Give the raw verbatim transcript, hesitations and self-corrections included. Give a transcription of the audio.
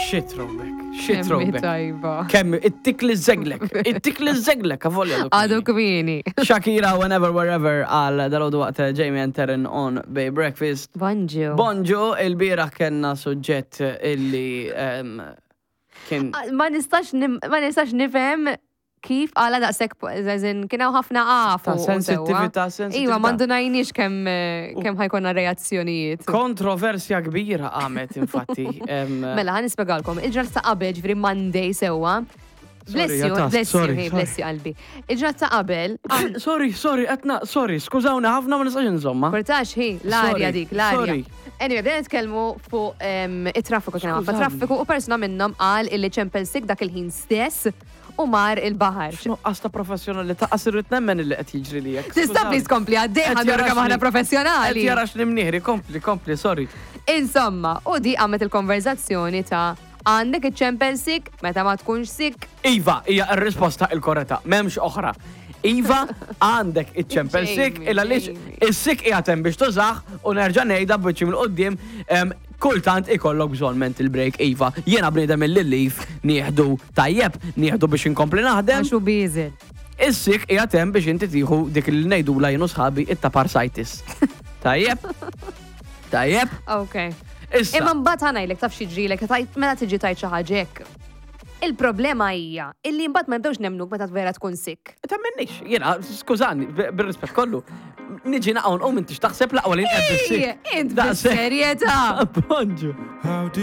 Shit throwback, shit Kemmi throwback. tajba. Kemm, ittik li żeglek, ittik li żeglek, avolja. Għadu kmieni. Shakira, Whenever, Wherever, għal dalgħodu waqt Jamie and Taryn on Bay Breakfast. Bonġu. Bonġu, il-bieraħ kellna suġġett illi em, kien Ah, Ma nistax nim- ma nistax nifhem kif għala daqshekk, as in, kien hawn ħafna għafu. Ta' u sensitivita, sewwa. sensitivita. Iva, ma ndunajniex kemm eh, kemm ħa jkollna reazzjonijiet. Kontroversja kbira għamet, infatti. em, Mela, ħa nispjegalkom. Il-ġurnata ta' qabel, ġifieri Monday sewwa. Bless you, Jatas, bless you, sorry, hey, sorry. bless you qalbi. Il-ġurnata ta' qabel, ah, Sorry, sorry, etna, sorry, skużawni ħafna, ma nistax insomma. Portax, hi, l-arja Sorry, dik, l-arja. sorry. Anyway, bdejna nitkellmu fuq em, it-traffiku, kien hawn ħafna Skużawni. traffiku u persuna minnhom qal illi ċempel sick dak il-ħin stess u mar il-baħar. Nuqqas ta' professjonalità, qas irrid nemmen illi qed jiġri li jekk. Tista' please kompli għaddej, Qed ħa nuru kemm aħna jaraxni- professjonali. Qed jarax li mnieħri, kompli, kompli, sorry. Insomma, u di għamet il-konverzazzjoni ta' għandek iċċempel sick meta ma tkunx sick. Iva, hija r-risposta il-korretta, m'hemmx oħra. Iva, għandek iċċempel sick, Jamie, illa lix Jamie. is-sick qiegħed hemm biex tużah u nerġa' ngħidha biċċi mill-qudiem em, kultant ikollok bżonn mental break, iva. Jiena bniedem il-leave nieħdu tajjeb, nieħdu biex inkompli naħdem. Għax hu biżel. Is-sick qiegħed hemm biex inti tieħu dik li ngħidula jien u sħabi it-taparsitis. Tajjeb? Tajjeb? Ok. Issa. Imma mbagħad ħa ngħidlek, taf xi tajt meta tiġi tajt xi ħaġa hekk. Il-problema hija illi mbagħad ma nibdewx nemnuk meta vera tkun sick. Ta' minnix, jiena, skużani, b- bir-rispett kollu, niġi naqgħu nqum, intix taħseb laqwa li nqed Ej, is-sick. int Daqshekk. bis-serjetà. Bonġu. How do